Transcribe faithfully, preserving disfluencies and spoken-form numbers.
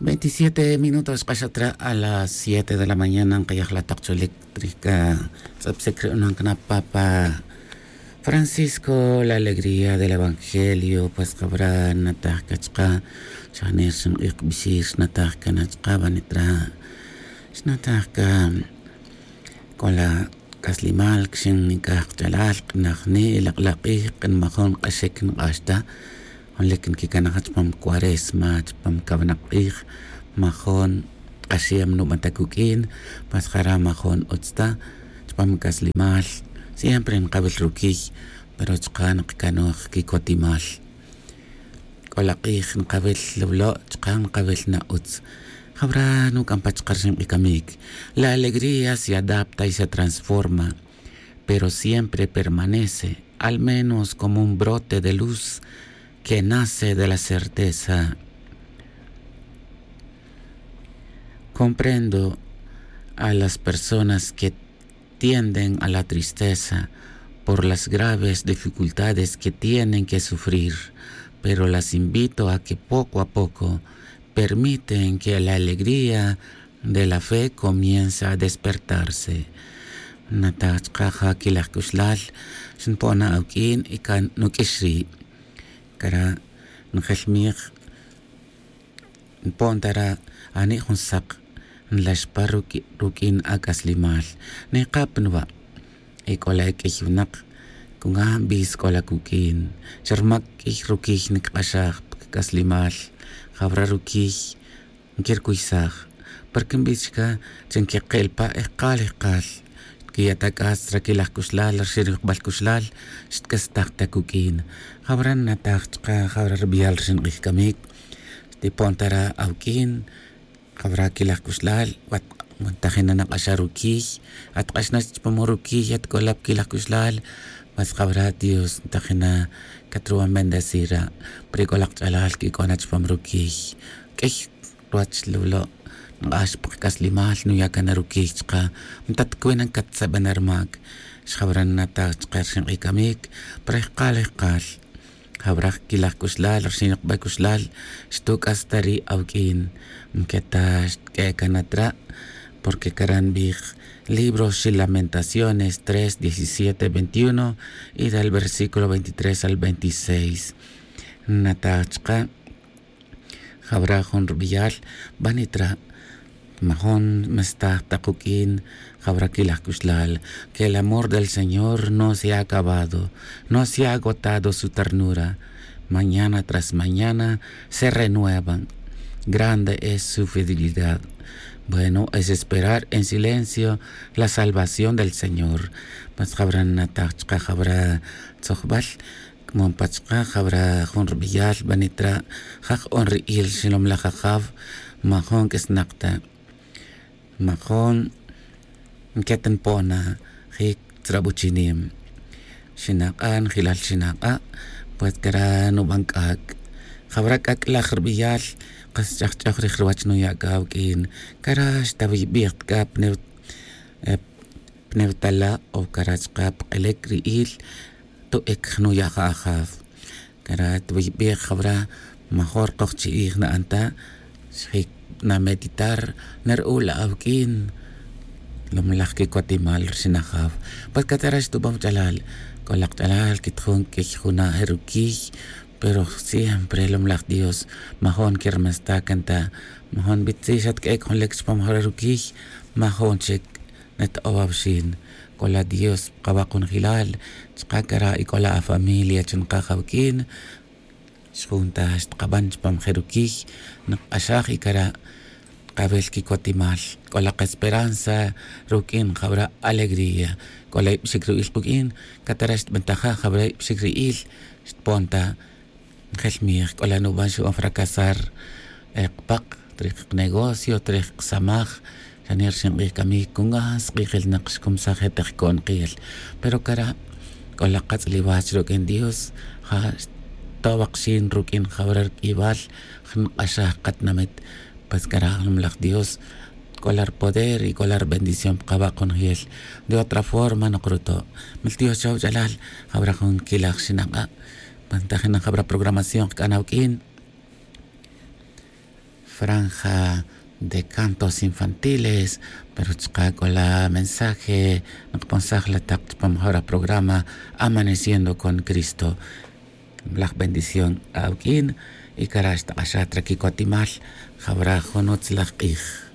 Veintisiete minutos k'axat ra a las siete de la mañana nkayaj la taq chulik trij ka tz'apsik ri unan kana papa francisco la alegría del evangelio. Pues qabra nataj ka chqa' chanir xink'ij qbixir xnataj ka nachqa' banitra xnataj ka k'ola k'aslimal kixin nik'aj qch'alal q'inajni' lak'laq'ij q'inmajon q'axik nq'ax ta junlik nkikanaj chpam cuaresma chpam kawinaq q'ij. Majon q'axem nuban ta kuk'in mas jara' majon utz ta chpam k'aslimal. Siempre nqawil rukiy pero chqa' nqkanoj kikotimal. K'ola q'ij nqawil lawlo' chqa' nqawil na utz. Jawra nuk'an pa chqa' rixin q'ij kamik. La alegría se adapta y se transforma, pero siempre permanece al menos como un brote de luz que nace de la certeza. Comprendo a las personas que tienden a la tristeza por las graves dificultades que tienen que sufrir, pero las invito a que poco a poco permiten que la alegría de la fe comience a despertarse. Nataj chqa' ja kilaj k'uxlal xnpona awk'in y kan nuk'ix ri'. Kara' njelmij npon ta ra' ani' jun saq nlaxpa ruq'uin ak'aslimal. Nikap nwa' y k'ola ek'ey winak kunga' nbis k'ola kuk'in xa rmak' k'iy rukiy nikq'axaj pa kik'aslimal. Jawra rukiy nkirukuysaj porque nbis chka' chi nkeqel pa ejqal ejqal. Xtkiya' ta k'as rakilaj k'uxlal rixin riyojbal k'uxlal xtk'astaj ta kuk'in. Jawra nnataj chka' jawra ribiyal rixin q'ij kamik xtipon ta ra awk'in. Jawra kilaj k'uxlal wat ntajina nak'axa rukiy. Atk'axna chpam rukiy atk'ola pa kilaj k'uxlal. Mas jawra dios ntajina katruwan bendecir ra' pero ik'ola kach'alal kik'ona chpam rukiy. K'ey ruwach lawlo' nk'ax pa kak'aslimal nuya' kan rukiy chka' ntatkwin nkatsaben rmak. Xjawra nnataj chka' rixin q'ij kamik pero ejqal ejqal jawra kilaj k'uxlal rixin yokbal k'uxlal xtuk'as ta ri' awk'in. Nketa xtk'e' kan atra' porque kara' nbij libros xi lamentaciones tres diecisiete veintiuno y del versículo veintitrés al veintiséis. Nnataj chka' jawra jun rubiyal banitra' majon mestaj ta quk'in. Jawra kilaj k'uxlal que el amor del señor no se ha acabado, no se ha agotado su ternura. Mañana tras mañana se renuevan. Grande es su fidelidad. Bueno, es esperar en silencio la salvación del señor. Mas jawra nnataj chka' jawra tzojbal kmon pa chka' jawra jun rubiyal banitra' jaj on ri'il xilomlaj ajaw. Majon k'isnak ta majon nket npona jik tzrabuchinim. Xinak'a' njilal xinak'a' pues kara' nuban k'ak'. Jawra k'ak' laj rubiyal kas ch'ajch'oj rij ruwach nuya' k'a awk'in. Kara' xtawiybij ta k'a pa newtala' o kara' chka' pa k'elek ri'il. To'ek nuya' ja ajaw. Kara' twiybij jawra major qojchi'ij na'an ta xjik nameditar. Nar'ul awk'in lomlaj kikotimal rixin ajaw. Pues katara' xtubam ch'alal k'olak ch'alal kitjun k'iy juna' je' rukiy. Pero siempre lomlaj dios majon kermestaj kan ta majon bitzij xatk'ek' jun lek chupam jawra rukiy. Majon chik neto'ow awxin. K'ola dios kawaq jun jilal chka' kara' y k'ola afamilia chunqaj awk'in. Xjun ta xtkaban chupam je' rukiy nqk'axaj y kara' kawil kikotimal. K'ola qesperanza ruk'in jawra alegría. K'ola ib'ixik ru'il quk'in katara' xtb'antaja' jawra ib'ixik ri'il xtpon ta. Njelmij k'ola nuban xub'an fracasar qpaq trij qnegocio trij qsamaj. Xanir xin q'ij kamik kungan sq'ijil naq xkumsaj je' teq ko'nqil. Pero kara' k'ola qatz'liwach ruk'in dios ja' xtowaq xin ruk'in jawra rk'iyb'al. Jnq'axaj qatinamit pues kara' jnumlaj dios k'ola rpoder y k'ola rbendición pa qawaq' junjel. De otra forma noq ruto' mil dios chawch'alal jawra jun kilaj xinaq'a'. Pues ntajin naq jawra programación qk'an awk'in. franja de cantos infantiles, pero chka' k'ola mensaje nqponsaj la taq chpam jora programa amaneciendo con cristo. Laj bendición awk'in. Y kara' xtaq'axat ra kikotimal. Jawra jun utzlaj q'ij.